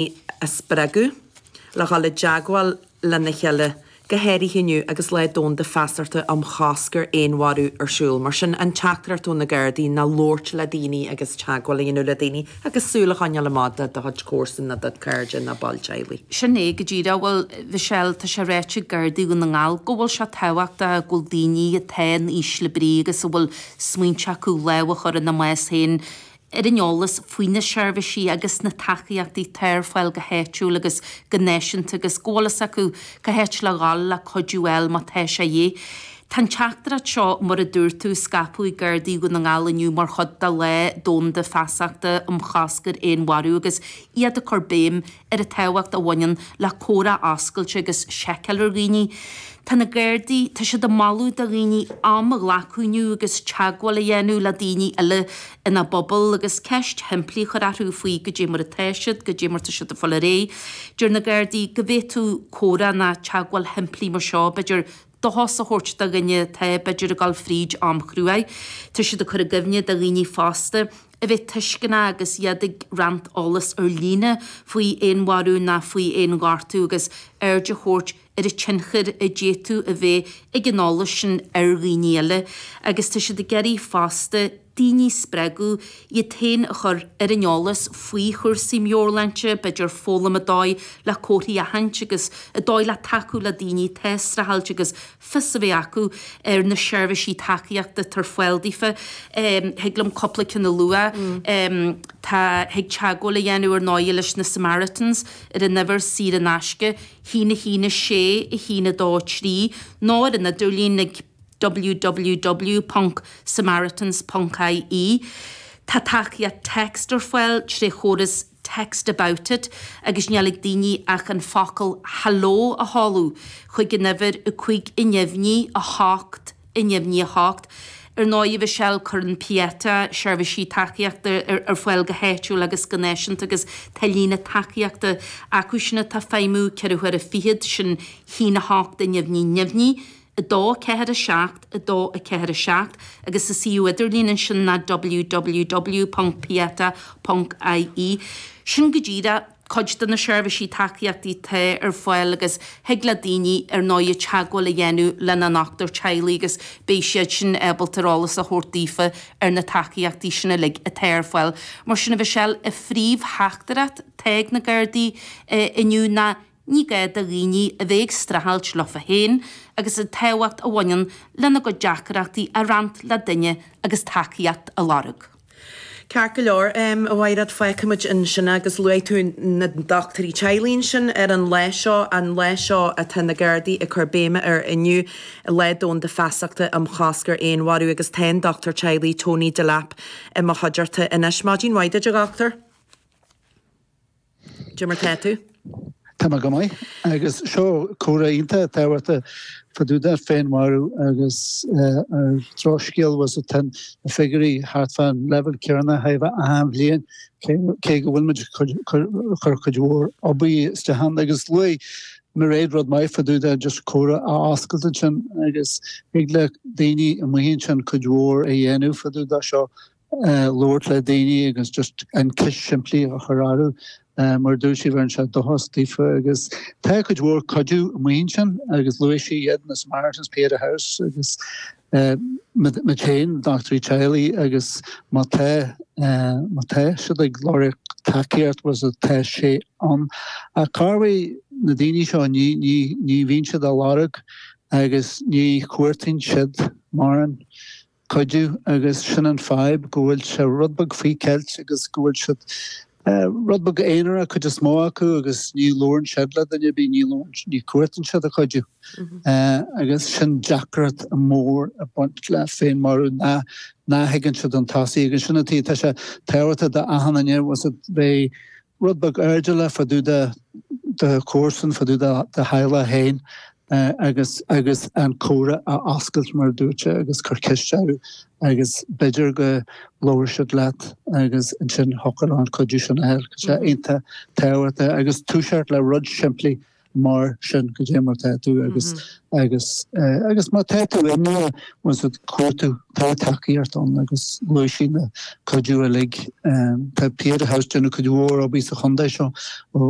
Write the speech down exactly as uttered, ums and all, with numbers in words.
a spreagadh le dhul i dteagmháil lena chéile, go háirithe inniu agus Lá Domhanda Feasachta um Chosc ar Fhéinmharú ar siúl. Mar sin, an teachtaireacht ó na Gardaí ná labhairt le daoine agus teagmháil a dhéanamh le daoine agus súil a choinneáil amach do do chuid comharsan nó do chairde nó baill teaghlaigh. Sin é go díreach. Bhuel, Michelle, tá sé ráite ag Gardaí Dhún na nGall go bhfuil sé tábhachtach go bhfuil daoine atá in ísle brí agus a bhfuil smaointe acu lámh a chur ina mbás féin ar an eolas faoi na seirbhísí agus na tacaíochtaí atá ar fáil go háitiúil agus go náisiúnta agus go bhfuil fhios acu cá háit le dhul le cuidiú a fháil má tá sé a dhíth. Tá an teachtaireacht seo, mar a dúirt tú, scaipthe ag Gardaí Dhún na nGall inniu mar chuid de Lá Domhanda Feasachta um Chosc ar Fhéinmharú agus iad ag cur béim ar an tábhacht a bhaineann le comhrá oscailte agus seiceáil ar dhaoine. Tá na Gardaí, tá siad ag moladh do dhaoine am a ghlacadh inniu agus teagmháil a dhéanamh le daoine eile ina bpobal agus ceist shimplí a chur orthu faoi goidé mar atá siad, goidé mar tá siad ag fáil ar aghaidh. Deir na Gardaí go bhféadfadh comhrá ná teagmháil shimplí mar seo, b'fhéidir, dóchas a thabhairt do dhuine atá b'fhéidir ag dul fríd am chruaidh. Tá siad ag cur i gcuimhne do dhaoine fosta a bheith tuisceanach agus iad ag roinnt eolas ar líne faoi fhéinmharú ná faoi fhéinghortú agus aird a thabhairt ar an tionchar a d'fhéadfadh a bheith ag an eolas sin ar dhaoine eile agus tá siad ag iarraidh fosta daoine a spreagadh iad féin a chur ar an eolas faoi chúrsaí meabhairshláinte, b'fhéidir foghlaim an dóigh le comharthaí a aithint agus an dóigh le tacú le daoine atá ag streachailt agus fios a bheith acu ar na seirbhísí tacaíochta atá ar fáil daofa. Thig liom cúpla ceann a lua. Tá, thig teagmháil a dhéanamh ar ndóigh leis na Samaritans ar an uimhir saor in aisce, haon a haon a sé, a haon a dó a trí, nó ar an idirlíon ag www ponc samaritans ponc ie. Tá tacaíocht text ar fáil tré chóras Text About It agus níl ag daoine ach an focal 'hello' a sheoladh chuig an uimhir a cúig a neamhní a hocht a neamhní a hocht. Ar ndóigh, a Mhichelle, cuireann Pieta seirbhísí tacaíochta ar fáil go háitiúil agus go náisiúnta agus tá líne tacaíochta acu sin atá ag feidhmiú ceithre huaire fichead, sin haon a hocht a neamhní neamhní, a dó a ceathair a seacht, a dó a ceathair a seacht agus a suíomh idirlín ansin ná www ponc pieta ponc ie. Sin go díreach cuid de na seirbhísí tacaíochtaí atá ar fáil agus thig le daoine ar ndóigh teagmháil a dhéanamh lena ndochtúir teaghlaigh agus beidh siad sin ábalta ar eolas a thabhairt daofa ar na tacaíochtaí sin uilig atá ar fáil. Mar sin a Mhichelle, an phríomhtheachtaireacht atá ag na Gardaí inniu ná ní gá do dhaoine a bheith ag streachailt leofa féin agus an tábhacht a bhaineann lena gcuid deacrachtaí a roinnt le duine agus tacaíocht a lorg. Ceart go leor, a Mhaighread, fágfaimid ansin é agus luaigh tú na dochtúirí teaghlaigh ansin ar an lá seo, an lá seo atá na Gardaí ag cur béime air inniu, Lá Domhanda Feasachta um Chosc ar Fhéinmharú agus tá an dochtúir teaghlaigh Tony Delap i mo chuideachta anois. Maidin mhaith duit, a dhochtúir. Cad é mar tá tú? Tá mé go maith. Agus seo comhrá iontach tábhachtach fá dtaobh de féinmharú agus ar drochscéal was tá na figiúirí thart fán leibhéal céanna thart fá achan bhliain cé go bhfuil muid ag cur cuid mhór obair isteach ann agus luaigh Mairéad rud maith fá dtaobh de just comhrá a oscailt ansin agus thig le daoine amuigh ansin cuid mhór a dhéanamh fá dtaobh de seo labhairt le daoine agus just an ceist simplí a chur orthu mar dúirt sí bheireann sé dóchas daofa agus tá cuid mhór cuidiú amuigh ansin agus luaigh sí iad na Samaritans Pieta House agus muid féin dochtúirí teaghlaigh agus má tá má tá siad ag lorg tacaíocht was tá sé ann. Ach corruair na daoine seo ní ní ní bhíonn siad á lorg agus ní chuartaíonn siad mórán cuidiú agus sin an fadhb go bhfuil sé rud beag faoi cheilt agus go bhfuil siad rud beag aonarach cuid is mó acu agus ní labhrann siad le duine bí ní ní chuartaíonn siad a chuidiú agus sin deacracht mór ag baint le féinmharú ná ná thuigeann siad an tosaí agus sin atá tá sé tábhachtach d'achan duine was bheith rud beag airdeallach fá dtaobh de do chomharsan fá dtaobh de do theaghlach féin agus agus an comhrá a oscailt mar dúirt sé agus cur ceist orthu agus b'fhéidir go labhróidh siad leat agus ansin thiocfadh an cuidiú sin a fháil. Tá sé iontach tábhachtach agus toiseacht le rud simplí mar sin goidé mar tá tú agus agus agus má tá tú inniu cuartú tá tacaíocht ann agus luaigh sí na cuidiú uilig tá Pieta House déanamh cuid mhór obair sa chontae seo ó